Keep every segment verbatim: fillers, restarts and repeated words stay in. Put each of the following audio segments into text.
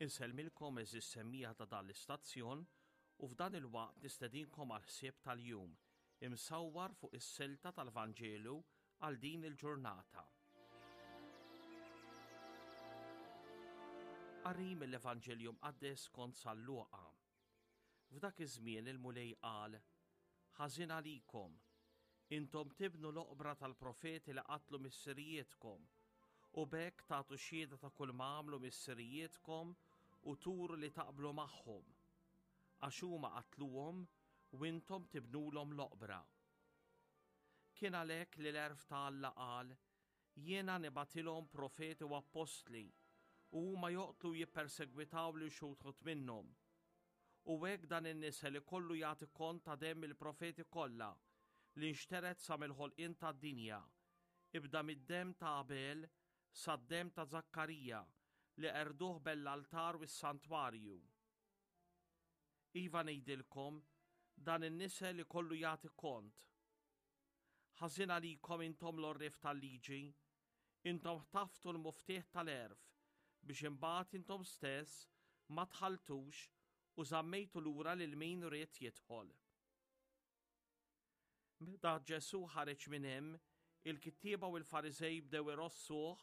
Insellmilkom għeżież semmiegħa ta' dan l-istazzjon u f'dan il-waqt nistedinkom għal ħsieb tal-jum imsawwar fuq is-silta tal-Vanġelu għal din il-ġurnata. Qari mill-Evanġelju Mqaddes skont San Luqa. F'dak iż-żmien il-Mulej qal: Ħażin għalikom, intom tibnu l-oqbra tal-profeti li qatlu missirijietkom, u b'hekk tagħtu xhieda ta' kull ma għamlu missirijietkom u turu li taqblu magħhom, għax huma qatluhom u intom tibnulhom l-oqbra. Kien għalhekk li l-għerf ta' Alla qal, Jiena nibgħatilhom profeti u appostli, u huma joqtlu u jippersegwitaw lil xi wħud minnhom. U hekk dan in-nisel ikollu jagħti kont ta' demm il-profeti kollha li nxtered sa mill-ħolqien tad-dinja, ibda mid-demm ta' Abel sad-demm ta' Żakkarija li qerduh bejn l-altar u s-santwarju. Iva ngħidilkom, dan in-nisel ikollu jagħti kont. Ħażin għalikom intom l-għorrief tal-liġi, intom ħtaftu l-muftieħ tal-għerf biex imbagħad intom stess ma dħaltux u żammejtu lura lil min ried jidħol. Meta Ġesù ħareġ minn hemm, il-kittieba u l-Fariżej bdew irossuh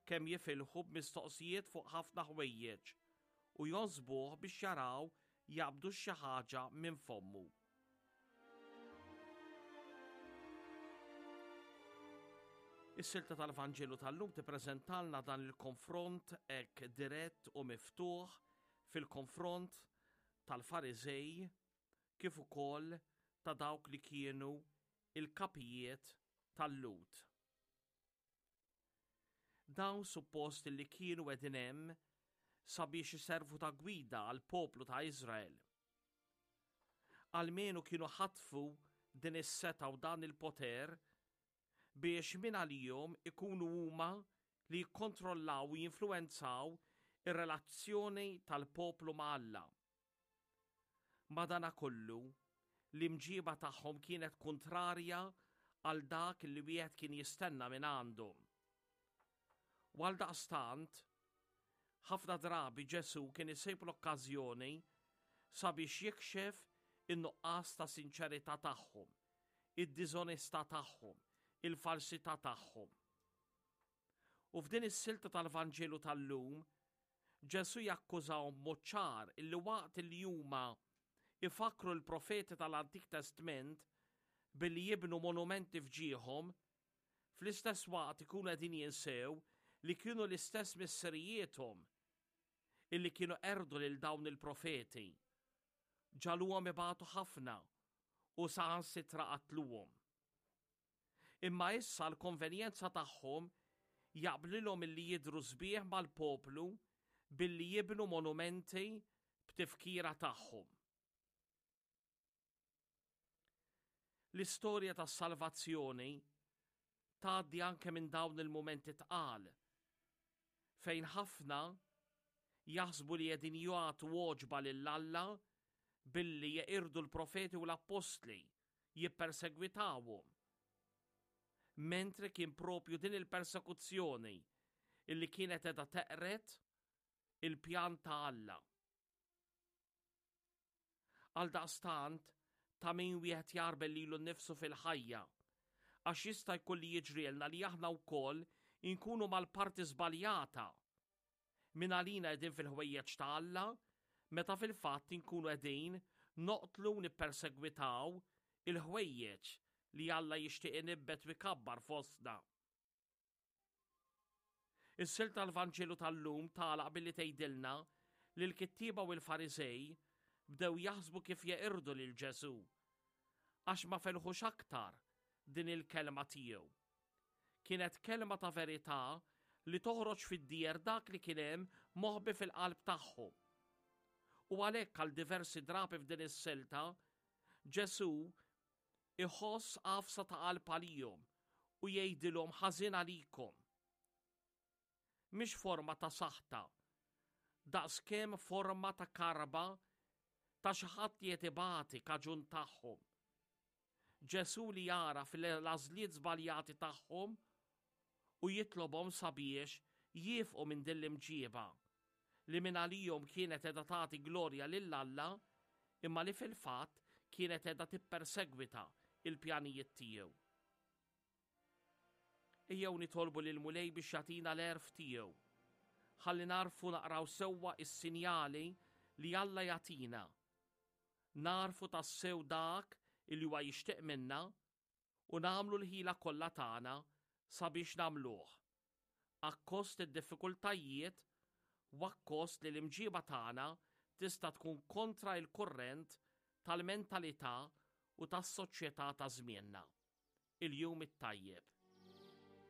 kemm jifilħu b'mistoqsijiet fuq ħafna ħwejjeġ u jonsbuh biex jaraw jaqbdu xi ħaġa minn fommu. Is-silta tal-Vanġelu tal-lum tippreżentalna dan il-konfront hekk dirett u miftuħ fil-konfront tal-Fariżej kif ukoll ta' dawk li kienu il-kapijiet tal-Lhud. Dawn suppost li kienu qegħdin hemm sabiex iservu ta' gwida għall-poplu ta' Iżrael. Almenu kienu ħatfu din is-setgħa u dan il-poter biex minn għalihom ikunu huma li jikkontrollaw u jinfluwenzaw ir-relazzjoni tal-poplu ma' Alla. Madanakollu, l-imġiba tagħhom kienet kontrarja għal dak li wieħed kien jistenna minn għandhom. U għaldaqstant, ħafna drabi Ġesù kien isib l-okkażjoni sabiex jikxef in-nuqqas ta' sinċerità tagħhom, id-diżonestà tagħhom, il-falsità tagħhom. U f'din is-silta tal-Vanġelu tal-lum, Ġesù jakkużahom b'mod ċar illi waqt li huma ifakkru l-profeti tal-Antik Testment billi jibnu monumenti f'ġieħhom, fl-istess waqt ikunu qegħdin jinsew li kienu l-istess missirijiethom illi kienu qerdu lil dawn il-profeti, ġagħluhom ibatu ħafna u saħansitra qatluhom. Imma issa l-konvenjenza tagħhom jaqblilhom illi jidhru sbieħ mal-poplu billi jibnu monumenti b'tifkira tagħhom. L-istorja tas-salvazzjoni tgħaddi anke minn dawn il-mumenti tqal fejn ħafna jaħsbu li qegħdin jagħtu għoġba lil Alla billi jeqirdu l-profeti u l-appostli, jippersegwitawhom. Mentri kien propju din il-persekuzzjoni illi kienet qiegħda teqred il-pjan ta' Alla. Għaldaqstant, ta' min wieħed jagħrbel lilu nnifsu fil-ħajja, għax jista' jkun li jiġrielna li aħna wkoll inkunu mal-parti żbaljata. Min għalina qegħdin fil-ħwejjeġ ta' Alla, meta fil-fatt inkunu qegħdin noqtlu u nippersegwitaw il-ħwejjeġ li Alla jixtieq inibbet u jkabbar fostna. Is-silta tal-Vanġelu tal-lum tagħlaq billi tgħidilna li l-kittieba u l-Fariżej bdew jaħsbu kif jeqirdu lil Ġesù, għax ma felħux aktar din il-kelma tiegħu. Kienet kelma ta' verità li toħroġ fid-dieher dak li kien hemm moħbi fil-qalb tagħhom. U għalhekk għal diversi drabi f'din is-silta, Ġesù iħoss għafsa ta' qalb għalihom u jgħidilhom ħażin għalikom. Mhix forma ta' saħta, daqskemm forma ta' karba ta' xi ħadd li qed ibati kaġun tagħhom. Ġesù li jagħraf l-għażliet żbaljati tagħhom u jitlobhom sabiex jiefqu minn din l-imġieba li mingħalihom kienet qiegħda tagħti glorja lil Alla, imma li fil-fatt kienet qiegħda tippersegwita il-pjanijiet tiegħu. Ejjew nitolbu lill-Mulej biex jagħtina l-għerf tiegħu. Ħalli nagħrfu naqraw sewwa is-sinjali li Alla jagħtina. Nagħrfu tassew dak illi huwa jixtieq minna u nagħmlu l-ħila kollha tagħna sabiex nagħmluh. Akkost id-diffikultajiet u akkost li l-imġiba tagħna tista' tkun kontra il-kurrent tal-mentalità u tas-soċjetà ta' żmienna. Il-jum it-tajjeb.